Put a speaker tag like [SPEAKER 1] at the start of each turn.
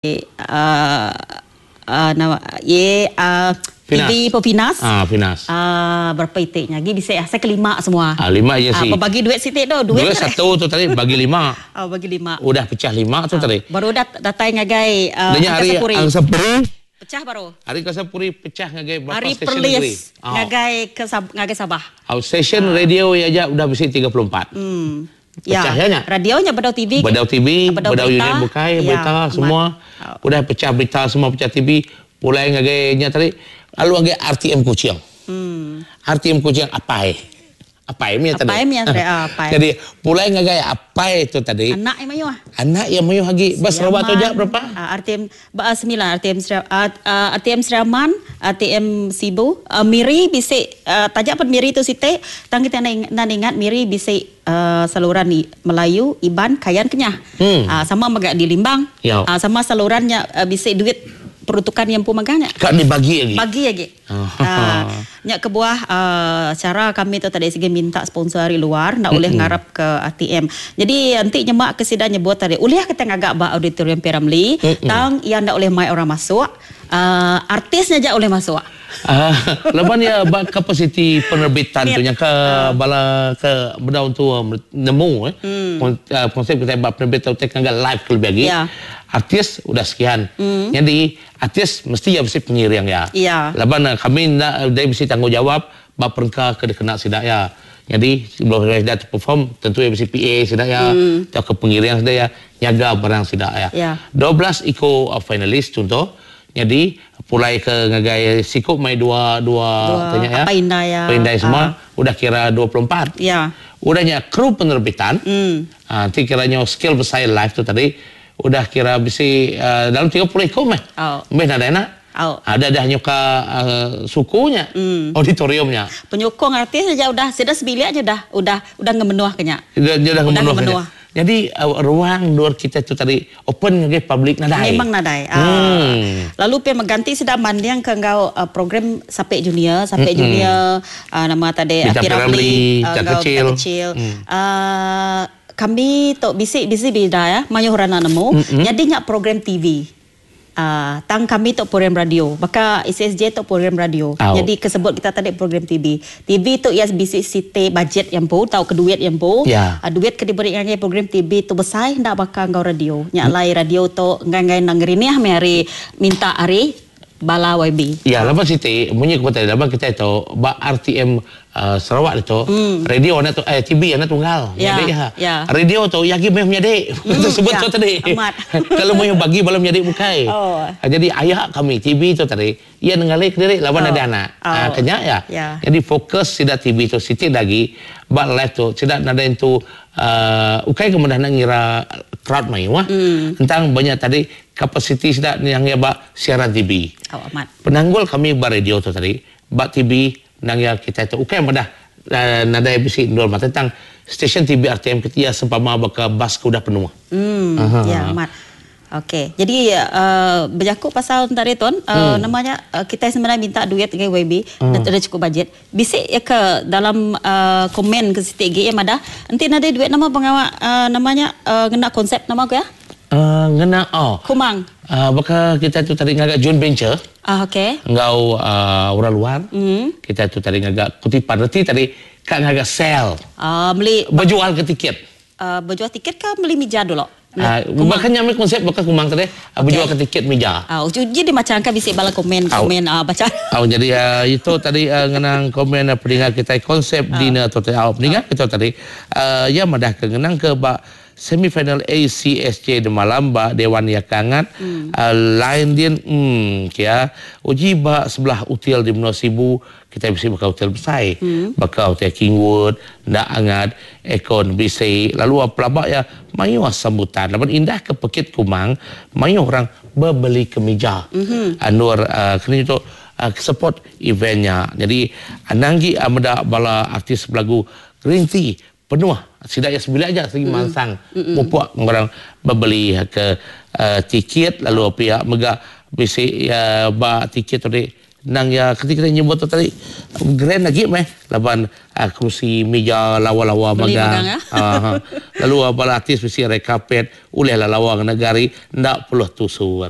[SPEAKER 1] Uh, uh, nama ye uh, TV Pefinas.
[SPEAKER 2] Ah, Finas.
[SPEAKER 1] Ah, berapa itiknya? Lagi bisa ya, saya kelima semua.
[SPEAKER 2] Ah, lima je
[SPEAKER 1] sih. Ah, bagi duit siti tu,
[SPEAKER 2] duit. Duit satu tu tadi bagi lima.
[SPEAKER 1] Oh, bagi lima.
[SPEAKER 2] Udah pecah lima tu ah, tadi.
[SPEAKER 1] Baru dah datai ngagai
[SPEAKER 2] uh, Angkasa hari Puri. Angkasa Puri.
[SPEAKER 1] Pecah baru.
[SPEAKER 2] Hari Angkasa Puri pecah ngagai
[SPEAKER 1] berapa hari stesen negeri? Oh. Ngagai ke ngagai Sabah.
[SPEAKER 2] Oh, stesen ah. radio ya aja udah bisi 34.
[SPEAKER 1] Ya.
[SPEAKER 2] Pecah nya.
[SPEAKER 1] Radio nya bedau TV.
[SPEAKER 2] Bedau TV, bedau, bedau unit bukai, ya, berita semua. Udah pecah berita semua pecah TV, pulai ngagai nya tadi lalu ngagai RTM Kuching. RTM Kuching apai. Apai mih tadi.
[SPEAKER 1] Apai mih tadi, ah, apai.
[SPEAKER 2] Jadi pulai ngagai apai tu tadi.
[SPEAKER 1] Anak iya mayuh.
[SPEAKER 2] Anak iya mayuh agi. Ba Sarawak tu aja berapa?
[SPEAKER 1] Ah, RTM ba semilan RTM uh, RTM Sri Aman, RTM Sibu, uh, Miri bisi uh, taja pun Miri tu siti tang kita enda ingat Miri bisi uh, saluran Melayu, Iban, Kayan, Kenyah. Uh, sama mega di Limbang.
[SPEAKER 2] Ya.
[SPEAKER 1] Uh, sama saluran nya uh, bisi duit peruntukan yang empu mega nya.
[SPEAKER 2] Ka dibagi agi.
[SPEAKER 1] Bagi agi. Uh, nya kebuah uh, cara kami tu tadi sigi minta sponsor ari luar enda ulih ngarap ke ATM. Jadi enti nyema ke sida nyebut tadi ulih kita ngaga ba auditorium P. Ramlee tang iya enda ulih mai orang masuk. Uh, artis nya aja ulih masuk.
[SPEAKER 2] Uh, laban iya ba kapasiti penerbitan tu nya ke bala ke bedau entu nemu eh. Konsep kitai ba penerbitan tu ngaga live ke lebih agi.
[SPEAKER 1] Yeah.
[SPEAKER 2] Artis udah sekian. Nyadi artis mesti iya bisi pengiring iya.
[SPEAKER 1] Yeah.
[SPEAKER 2] Laban kami enda dai bisi tanggungjawab ba perengka ke dikena sida iya. Nyadi sebelum sida tu perform tentu iya bisi PA sida iya tauka pengiring sida iya nyaga barang sida iya. 12 iku finalis chunto nyadi pulai ke ngagai siku mai dua dua tanya iya
[SPEAKER 1] apai indai iya
[SPEAKER 2] apai indai semua udah kira 24. Udah nya kru penerbitan ti kira nyau skill besai live tu tadi udah kira bisi dalam 30 iku meh. Meh nadai enda.
[SPEAKER 1] Au.
[SPEAKER 2] Ada dah nyuka suku nya, auditorium nya.
[SPEAKER 1] Penyukung artis aja udah sida sebilik aja udah udah udah ngemenuh ke nya.
[SPEAKER 2] Udah udah ngemenuh ke nya. Nyadi ruang endur kita tu tadi open ngagai public nadai.
[SPEAKER 1] Memang nadai. Aaa. Lalu pia mega enti sida manding ke enggau program Sapek Junior, Sapek Junior nama tadi
[SPEAKER 2] Bintang
[SPEAKER 1] P. Ramlee
[SPEAKER 2] Bintang
[SPEAKER 1] enggau
[SPEAKER 2] Kecil.
[SPEAKER 1] Bintang Kecil. Aaa kami tu bisi bisi bida ya mayuh orang enda nemu. Nyadi nya program TV. Tang kami tu program radio. Baka SSJ tu program radio.
[SPEAKER 2] Au.
[SPEAKER 1] Nyadi ke sebut kita tadi program TV. TV tu iya bisi siti bajet iya empu tauka duit iya empu.
[SPEAKER 2] Ya.
[SPEAKER 1] Duit ke diberi ngagai program TV tu besai enda baka enggau radio. Nya alai radio tu enggai enggai enda ngerinih meh ari minta ari bala YB.
[SPEAKER 2] Ya laban siti munyi ku tadi laban kitai tu ba RTM Sarawak ditu radio enda tu eh TV enda tunggal
[SPEAKER 1] Ya,
[SPEAKER 2] menyadi ha.
[SPEAKER 1] ya.
[SPEAKER 2] Radio tu iya agi meh menyadi sebut
[SPEAKER 1] Ya,
[SPEAKER 2] tu tadi.
[SPEAKER 1] Amat.
[SPEAKER 2] Kalau mayuh bagi bala menyadi bukai.
[SPEAKER 1] Oh.
[SPEAKER 2] Jadi aya kami TV tu tadi iya nengali kediri laban
[SPEAKER 1] Oh.
[SPEAKER 2] ada anak.
[SPEAKER 1] Oh.
[SPEAKER 2] Ha ke nya iya.
[SPEAKER 1] Ya.
[SPEAKER 2] Jadi fokus sida TV tu siti da agi ba live tu sida nadai entu uhh ukai ke meda enda ngira crowd mayuh tentang ba nya tadi kapasiti sida yang iya ba siaran TV.
[SPEAKER 1] Oh, amat.
[SPEAKER 2] Penanggul kami ba radio tu tadi ba TV Endang iya kitai tu ukai madah nadai bisi endur mata tang stesen TV RTM ke iya sempama baka bas ke udah penuh.
[SPEAKER 1] Emm ya amat. Okey. Jadi uhh bejaku pasal enta ari tuan uhh nama nya kitai sebenarnya minta duit ngagai YB enda chukup bajet. Bisi iya ke dalam uhh komen ke siti agi iya madah enti nadai duit nama pengawa uhh nama nya uhh ngena konsep nama ku iya?
[SPEAKER 2] Uhh ngena oh.
[SPEAKER 1] Kumang.
[SPEAKER 2] Uhh baka kitai tu tadi ngaga joint venture.
[SPEAKER 1] Ah okey.
[SPEAKER 2] Enggau uhh orang luar. Kitai tu tadi ngaga kutipan reti tadi ka ngaga sel.
[SPEAKER 1] Ah meli.
[SPEAKER 2] Bejual ke tiket.
[SPEAKER 1] Ah bejual tiket ka meli mija dulu.
[SPEAKER 2] Ah baka nya meh konsep baka kumang tadi okay. Bejual ke tiket mija.
[SPEAKER 1] Ah uji di macha angka bisi bala komen komen ah bacha.
[SPEAKER 2] Au jadi uhh itu tadi uhh ngenang komen peninga kitai konsep dinner tu tadi. Au peninga kita tadi uhh iya madah ke ngenang ke ba Semifinal ACSJ demalam ba Dewan Iya ke angat line din emm kia uji ba sebelah util di menua Sibu kitai bisi baka util besai baka hotel Kingwood enda angat aircon bisi lalu pelaba iya mayuh sambutan laban indah ke pekit kumang mayuh orang bebeli kemija endur keni tu support event nya jadi anang agi meda bala artis belagu green tea Penuh sida iya sebilik aja sigi mansang mupuk orang bebeli ke tiket lalu pia mega bisi ba tiket tu tadi. Nang iya ketika kita nyebut tu tadi grand agi meh laban uh, kerusi meja lawa-lawa magang.
[SPEAKER 1] Ya?
[SPEAKER 2] Uh, lalu uh, bala artis mesti red carpet ulih lah lawa ngena gari ndak perlu tusur.